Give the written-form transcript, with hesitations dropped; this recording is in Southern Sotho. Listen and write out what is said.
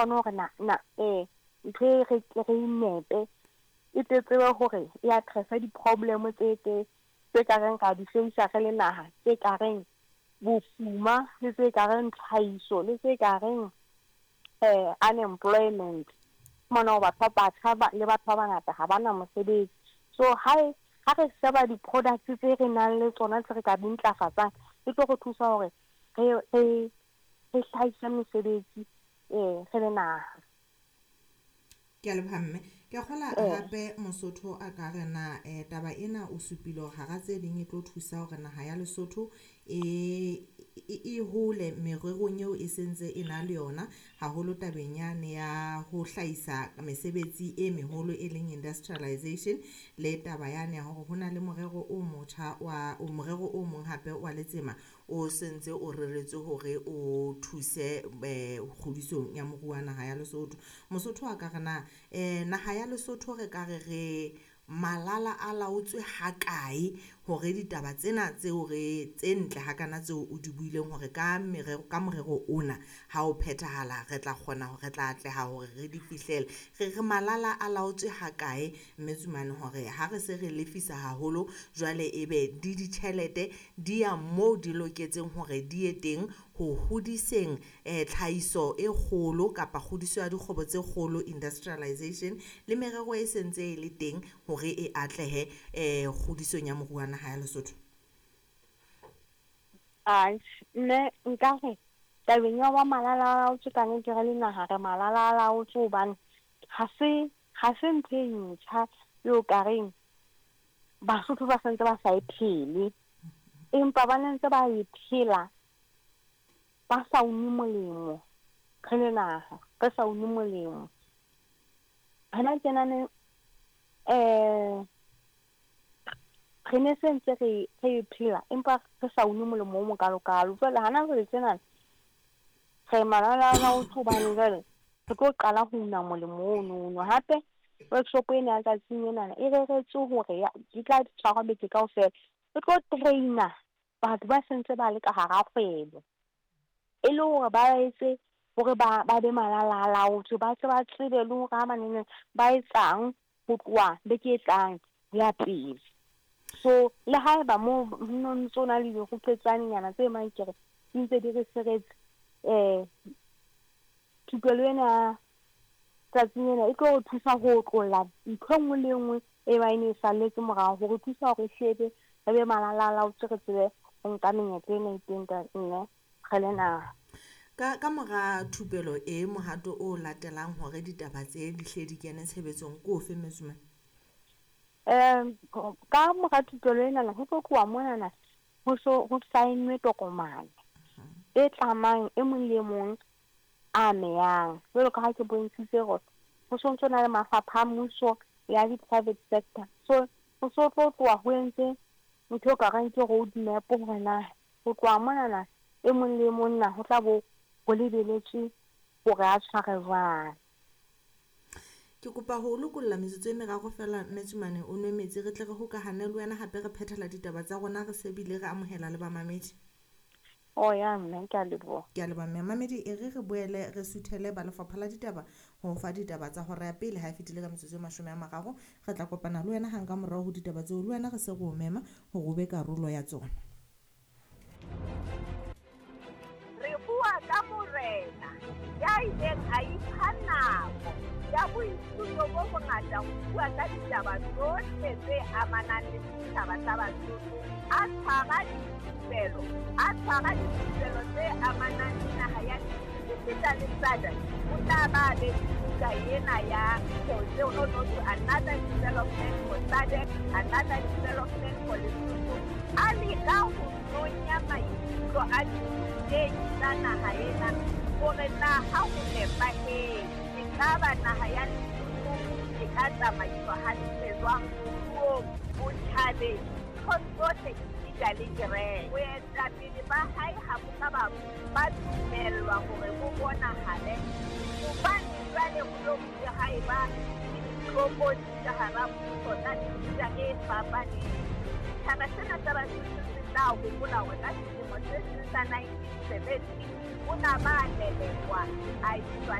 kgone hore na ntho e re nepe e tsebe hore e addressa di-problem tse ka reng ra di hlahisa re le naha, tse ka reng bofuma le tse ka reng tlhahiso le tse ka reng unemployment. Mona batho ba batjha le batho ba bangata ha bana mosebetsi. So ha re sheba di-products tse re nang le tsona tse re ka di ntlafatsang, e tlo re thusa hore re hlahise mesebetsi re le naha. Ke a leboha mme. Ke a kgola hape Mosotho a ka re na taba ena o supile hore hara tse ding e tlo thusa hore naha ya Lesotho e hole mererong eo e sentse e na le yona, haholo tabeng yane ya ho hlahisa mesebetsi e meholo e leng industrialization, le taba yane ya hore ho na le morero o motjha wa morero o mong hape wa letsema o sentse o reretswe hore o thuse kgodisong ya moruo wa naha ya Lesotho. Mosotho a ka re na naha ya Lesotho re ka re malala a laotswe hakae hore ditaba tsena tseo re tse ntle hakana tseo o di buileng hore ka morero ona ha o phethahala re tla kgona hore re tla atleha hore re di fihlele. Re malala a laotswe hakae mme Tsumane hore ha re se re lefisa haholo jwale ebe di ditjhelete di ya moo di loketseng hore di ye teng ho hodiseng tlhahiso e kgolo kapa kgodiso ya dikgwebo tse kgolo, industrialization, le merero e sentse e le teng hore e atlehe kgodisong ya moruo wa naha ya Lesotho? Nne nka re tabeng ya wa malala a laotswe ka nnete re le naha re malala a laotswe hobane ha se ntho e ntjha eo ka reng Basotho ba sentse ba sa e phele, empa ba ne ntse ba e phela ba sa une molemo. Re le naha re sa une molemo. Hana tjenane re ne se ntse re phela empa re sa une molemo o mokalokalo. Jwale hana jwale tjenana re malala a laotswe hobane jwale re tlo qala ho una molemo ono. Hape workshop ena ya tsatsing enana e reretswe hore di tla tshwarwa beke kaofela. E tlo traina batho ba sentse ba le ka hara kgwebo, e le hore ba etse hore ba be malala a laotswe, ba tle ba tsebe le hore ha banene ba etsang ho tloha beke e tlang ho ya pele. So le haeba mo no ntso na le dirupetsanenyana tse mankere di ntse di re seretse, thupelo ena tsatsing ena e tlo re thusa ho otlolla ntho e nngwe le nngwe e ba e ne e salletse morao, hore thusa hore hlebe re be malala a laotswe, re tsebe ho nka menyetla ena e teng ka nne re le naha. Ka mora thupelo e mohato o latelang hore ditaba tse di hle di kene tshebetsong ke ofe, Mme Tsumane? Ka mora thupelo enana ho tlo tloha monana ho so ho saennwe tokomane e tlamang e mong le mong a meyang. Jwalo ka ha ke bontshitse hore ho so ntso na le mafapha a mmuso ya di-private sector. So ho so tlo tloha ho entse ntho e ka reng ke road map hore na ho tloha monana e mong le mong na ho tla bo ho lebeletswe hore a tshware jwang. Ke kopa ho lokolla metsotso e meraro fela Mme Tsumane o nwe metsi re tle re hokahane le wena hape re phethela ditaba tsa rona re se bile re amohela le bamamedi. O ya mme, ke a leboha. Ke a leboha mme. Mamedi e re boele re suthele ba lefapha la ditaba ho fa ditaba tsa hora ya pele ha e fetile ka metsotso e 30. Re tla kopana le wena hang ka morao ho ditaba tseo, le wena re se re o mema hore o be karolo ya tsona. Re bua ka morena ya ileng a ipha nako ya boithuto bo bongata ho bua ka ditaba tsohle tse amanang le setjhaba sa Basotho, a tshwara dithupelo tse amanang le naha ya esita le SADC. O tla ba be buka ena ya Another Development for SADC, Another Development for Lesotho. A leka ho nonya maikutlo a dithutehi tsa naha ena hore na ha ho nepahetse ekaba naha ya Lesotho e ka tsamaiswa hantle jwang moruong, botjhabeng, nthong tsohle esita le kereke. Boetapele ba hae ha bo ka ba dumellwa hore bo bonahale hobane jwale ho lo bile ha eba le ditlokotsi ka hara mmuso tsa mefuta e fapaneng. Setjhaba sena sa Basotho se tla hopola hore ka selemo se seng sa 1970 o na ba lelekwa a iswa